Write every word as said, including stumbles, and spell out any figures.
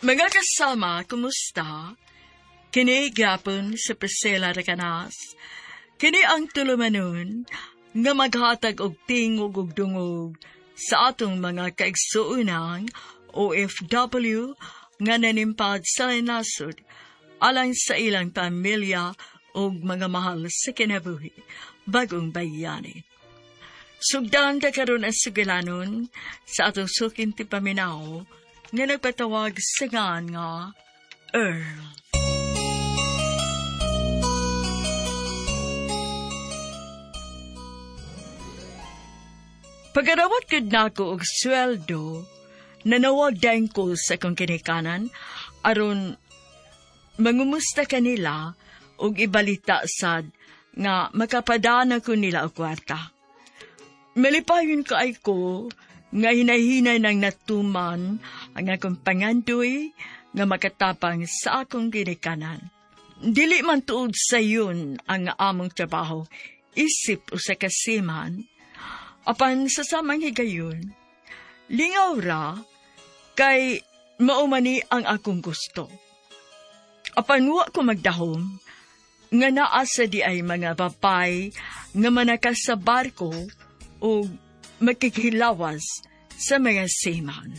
Mga kasama, kumusta? Kini gyapon sa Priscilla Recanas. Kini ang tulumanon nga maghatag og tingog ug dungog sa atong mga kaigsuonan O F W nga nanimpad sa nasod alang sa ilang pamilya ug mga mahal sa kinabuhi, bagong bayani. Sugdan ta karon ang sugilanon sa atong suking tipaminaw nga nagpatawag sa ngan nga Earl. Pagarawat gud nako og sweldo, nanawag dayon ko sa akong kinikanan aron mangumusta kanila og ibalita sad nga makapadana ko nila og kwarta. Malipayon kaay ko nga hinahinay nang natuman ang akong pangandoy nga makatapang sa akong ginikanan. Dili man tuod sayon ang among trabaho, isip usa ka seaman, apan sa samang higayon, lingaw ra kay maumani ang akong gusto. Apan wa ko magdahom, nga naa sa di ay mga babay nga manakas sa barko o makikilawas sa mga seaman.